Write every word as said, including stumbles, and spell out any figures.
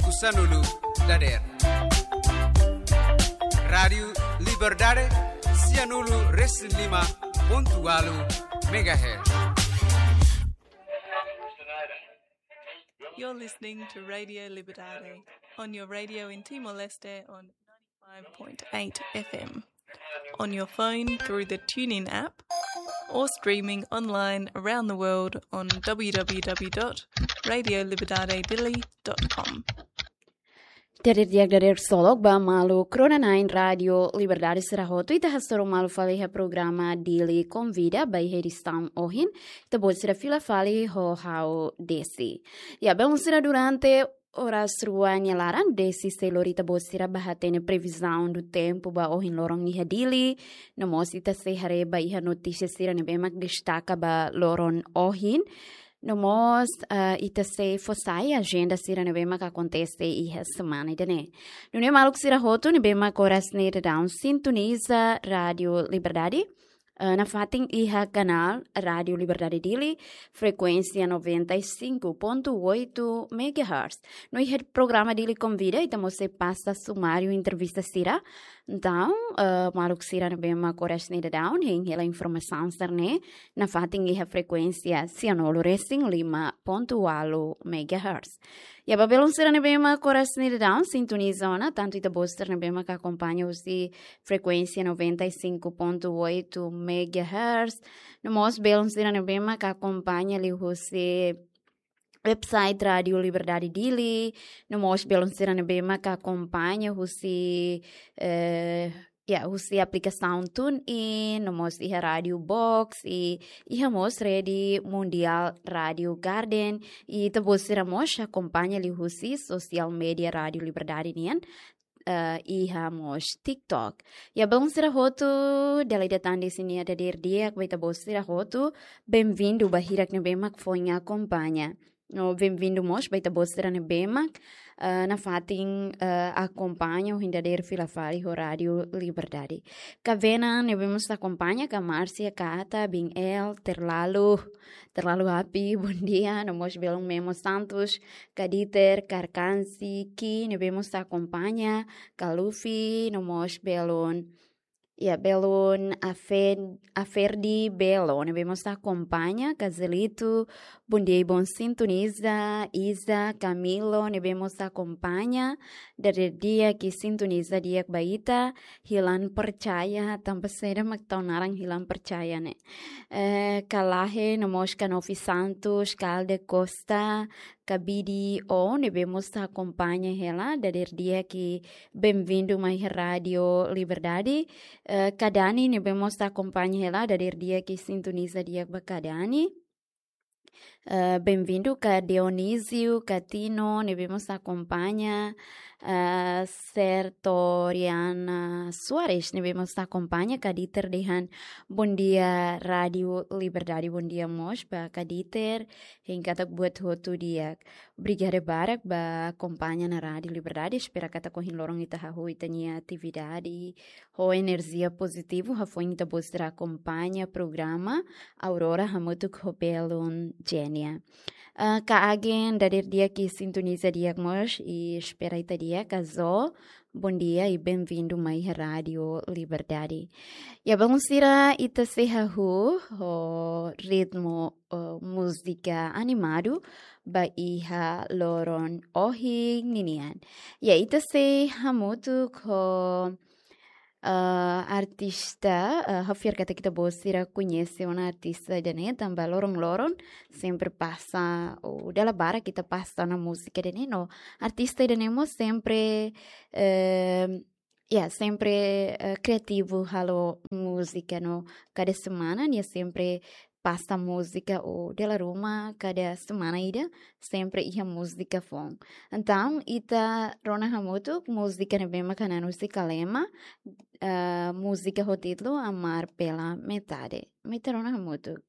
Sanulu dader. Rádiu Liberdade, sianulu resin lima pontu ualu megahertz. You're listening to Radio Liberdade on your radio in Timor-Leste on ninety-five point eight F M, on your phone through the TuneIn app, or streaming online around the world on w w w dot radio liberdade dili dot com. Dader di'ak, dader ksolok ba maluk rona-na'in Rádiu Liberdade sira hotu, ita hasoru malu fali iha programa Dili Konvida ba iha edisaun ohin, ita-boot sira fila fali ho ha'u Desi. Ya, belun sira, durante oras rua nia laran, Desi sei lori ita-boot sira ba hatene previzaun do tempu ba ohin loron iha Dili, no mós ita sei haree ba iha notísia sira ne'ebé mak destaka ba loron ohin. No mós, ah, ita sei fó sai ajenda sira ne'ebé mak akontese iha semana ida-ne'e. Nune'e maluk sira hotu ne'ebé mak oras ne'e daudaun sintoniza Rádiu Liberdade, ah, nafatin iha kanál Rádiu Liberdade Dili, frekuénsia noventa e cinco ponto oito megahertz. No iha programa Dili Konvida, ita mós sei pasa sumáriu entrevista sira. Entaun, eh, maluk sira ne'ebé mak oras ne'e daudaun hein hela informasaun sira-ne'e, nafatin iha frekuénsia sianulu resin lima pontu ualu megahertz. Ya, ba belun sira ne'ebé mak oras ne'e daudaun sintoniza ona, tantu ita-boot sira ne'ebé mak akompaña husi frekuénsia noventa e cinco ponto oito megahertz, no mós belun sira ne'ebé mak akompaña liuhusi website Rádiu Liberdade Dili, no mós belun sira ne'ebé mak akompaña husi, eh, ya, husi aplikasaun TuneIn, no mós iha Rádiu Box, i iha mós rede mundiál Rádiu Garden, i ita-boot sira mós akompaña liuhusi sosiál média Rádiu Liberdade nian, eh, iha mós TikTok. Ya, belun sira hotu, dala ida tan Desi nia dader di'ak ba ita-boot sira hotu, benvindu ba hirak ne'ebé mak foin akompaña. No benvindu mós ba ita-boot sira ne'ebé mak, eh, nafatin, eh, akompaña ohin dader fila fali ho Rádiu Liberdade. Kavena ne'ebé mós akompaña, ka Márcia, Kata, Bin El, Terlalu, Terlalu Api, bondia, no mós belun Memo Santos, ka Dieter, Karkansi, Ki, ne'ebé mós akompaña, ka Luffy, no mós belun, ya, belun Afen-, Aferdi Belo, ne'ebé mós akompaña, ka Zelito, bondia i bon sintoniza, Iza, Camilo, ne'ebé mós akompaña, dader di'ak i sintoniza di'ak ba ita, Hilan Percaya, tanba saida mak tau naran Hilan Percaya ne'e. Eh, ka Lahe, no mós ka Novi Santos, ka Alde Costa, ka Bidi O, ne'ebé mós akompaña hela, dader di'ak i benvindu mai Rádiu Liberdade. Eh, ka Dani, ne'ebé mós akompaña hela, dader di'ak i sintoniza di'ak ba ka Dani. Eh, benvindu ka Dionísio, ka Tino, ne'ebé mós akompaña, eh, Sertoriana Soares, ne'ebé mós akompaña, ka Dieter dehan bondia Rádiu Liberdade, bondia mós ba ka Dieter, hein katak buat hotu di'ak. Obrigada barak ba akompaña ona Rádiu Liberdade, espera katak ohin loron ita hahú ita-nia atividade ho enerjia pozitivu, hafoin ita-boot sira akompaña programa Aurora hamutuk ho belun Jenia. Ah, ka Agen, dader di'ak i sintoniza di'ak mós, i espera ita di'ak, ka Zo, bondia i benvindu mai Rádiu Liberdade. Ya, belun sira, ita sei hahú ho ritmu, eh, múzika animadu ba iha loron ohin ninian. Ya, ita sei hamutuk ho, eh, artista, eh, ha'u fiar katak ita-boot sira koñese ona artista ida-ne'e, tanba loron-loron sempre pasa, ou dala barak ita pasa ona múzika ida-ne'e, no artista ida-ne'e mós sempre, eh, ya, sempre, eh, kriativu halo múzika, no kada semana nia sempre pasa múzika, ou dala ruma kada semana ida sempre iha múzika foun. Entaun, ita rona hamutuk múzika ne'ebé mak hanan husi Kalema, eh, múzika ho títulu Amar pela Metade. Ita rona hamutuk.